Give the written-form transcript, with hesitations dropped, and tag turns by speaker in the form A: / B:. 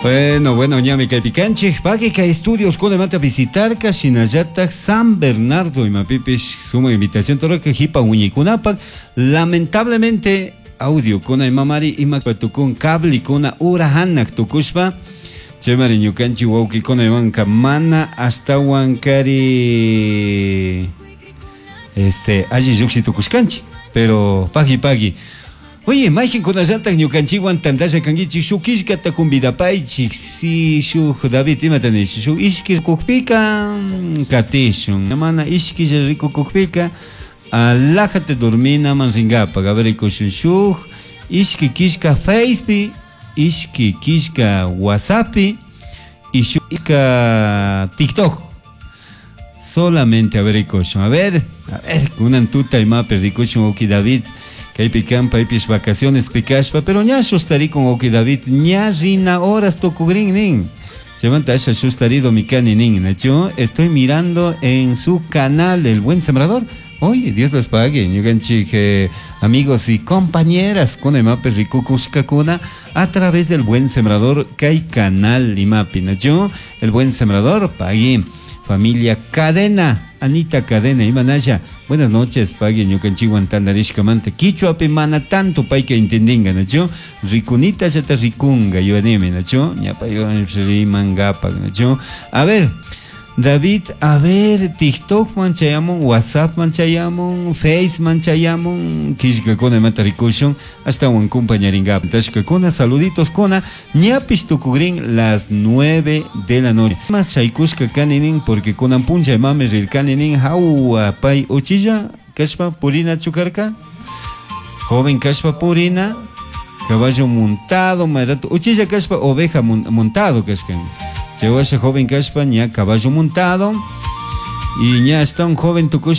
A: Bueno, bueno, ñami kaypi kanchik. Paqui kay estudios kunamanta visitarka shinallatak San Bernardo imapipish sumak invitación rurarka hipa wiñaykunapak. Lamentablemente audio kuna imamari ima tukun cable kuna ura hanak tukushpa chaymari ñukanchik wawkikuna imanka mana ashtawan kari este alli lluqshi tukushkanchik pero paqui paqui. Oye, mayqinkunallatak ñukanchikwan tantalla kankichik shuk killkata convidapaychik si shuk David imata nish shuk ishki rikukpika katishun mana ishkilla rikukukpika alajate dorminaman rinkapak a ver rikushun shuk ishki killka Facepi ishki killka WhatsAppi y shuk TikTok solamente a ver rikushun a ver kunan tuta imapi rikushun wawki David kaypi kan paypish vacaciones kashpa pero ña shustarikun wawki David ña rina horas tukugrin nin chaymanta asha shustarido mikani nin nachu estoy mirando en su canal El Buen Sembrador. Oye, Dios les pague, ñukanchik amigos y compañeras kuna imapi rikukushkakuna a través del Buen Sembrador kay canal imapi nachu El Buen Sembrador pagui familia Cadena Anita Cadena imanalla buenas noches pagui ñukanchikwan tantarishkamanta kichwapi mana tanto payka entendinga nachu rikunita llata rikunga yuyanimi nachu ña paywan rimankapak nachu a ver David, a ver, TikTok man chayamun, WhatsApp man chayamun, Face man chayamun, killkakuna imata rikushun, ashtawan compañarinkapak. Tashkakuna, saluditos kuna, ñapish tukugrin las 9 de la noche. Mas shaykushka kani nin, porque kunan puncha imami rirkani nin, hawa pay uchilla, kashpa purina chukarka, joven kashpa purina, caballo montado, mayrato, uchilla kashpa oveja montado kashkan. Chay washa joven kashpa ña caballo montado y ña está un joven tukushpa.